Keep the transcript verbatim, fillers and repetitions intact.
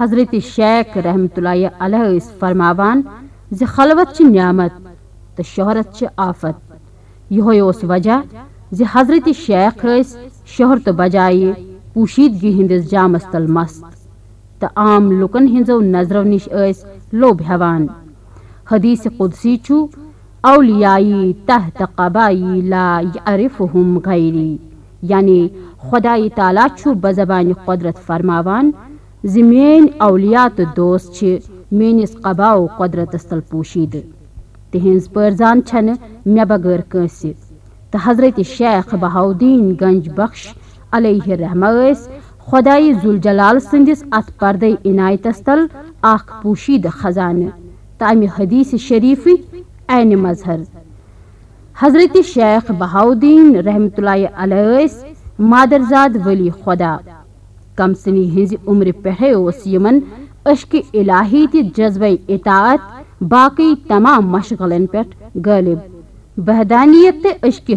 حضرت شیخ رحمت اللہ علیہ ٲسۍ فرماوان زِ خلوت چھِ نعمت تہٕ شہرت چھِ آفت۔ یِہوٚے اوس وجہ زِ حضرت شیخ ٲسۍ شہرتہٕ بجایہِ پوشیدگی ہٕنٛدِس جامس تل مست تہٕ عام لوٗکن ہٕنٛزو نظرو نِش ٲسۍ لوٚب ہٮ۪وان۔ حدیث قدسی چھُ، "اولیائی تحت قبائی لا یعرفہم غیری"، یعنی خدای تعالیٰ چھُ بزبانِ قدرت فرماوان زِ میٲنۍ اولیاء تہٕ دوست چھِ میٲنِس قبا و قدرتس تل پوشیدٕ۔ تِہنٛز پٲرزان چھنہٕ مےٚ بغٲر کٲنٛسہِ۔ تہٕ حضرت شیخ بہاؤالدین گنج بخش علیہ رحمہ ٲسۍ خدای ذوالجلال سٕنٛدِس اتھ پردے عنایتس تل اکھ پوشیدٕ خزانہٕ تہٕ امہِ حدیث شریفٕکۍ عین مظہر۔ حضرت شیخ بہاؤالدین رحمت اللہ علیہ ٲسۍ مادرزاد ولی خدا۔ کمسنی ہٕنٛزِ عمرِ پٮ۪ٹھے اوس یِمن عشقِ الٰہی تہٕ جذبہ اطاعت باقٕے تمام مشغلن پٮ۪ٹھ غٲلب۔ وحدانیت تہٕ عشقِ